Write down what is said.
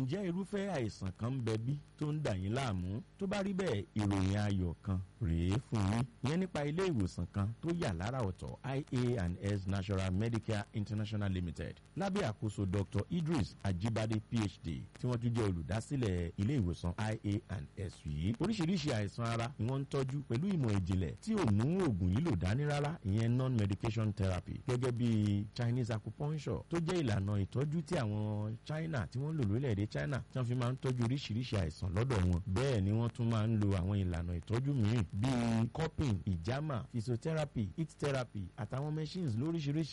Ǹjẹ́ irúfẹ́ àìsàn kan ń bẹ bí tó ń dà yín láàmú? Tó bá rí bẹ́ẹ̀, ìròyìn ayọ̀ kan rèé fún yín. Ìyẹn nípa ilé ìwòsàn kan tó yà lára ọ̀tọ̀, IA&S Natural Medicare International Limited, lábẹ́ àkóso Dr. Idris Ajibade PhD, tí wọ́n tún jẹ́ olùdásílẹ̀ ilé ìwòsàn IA&S yìí. Oríṣiríṣi àìsàn ara ni wọ́n ń tọ́jú pẹ̀lú ìmọ̀ ìjìnlẹ̀ tí ò mú oògùn lílò dání rárá, ìyẹn non-medication therapy, gẹ́gẹ́ bí Chinese acupuncture, tó jẹ́ ìlànà ìtọ́jú tí àwọn China tí wọ́n ń lò lórílẹ̀‐èdè China, tí wọ́n fi máa ń tọ́jú oríṣiríṣi àìsàn lọ́dọ̀ wọn. Bẹ́ẹ̀ ni wọ́n tún máa ń lo àwọn ìlànà ìtọ́jú mìíràn bíi cupping, ìjàmà, physiotherapy, heat therapy àtàwọn machines lóríṣiríṣi.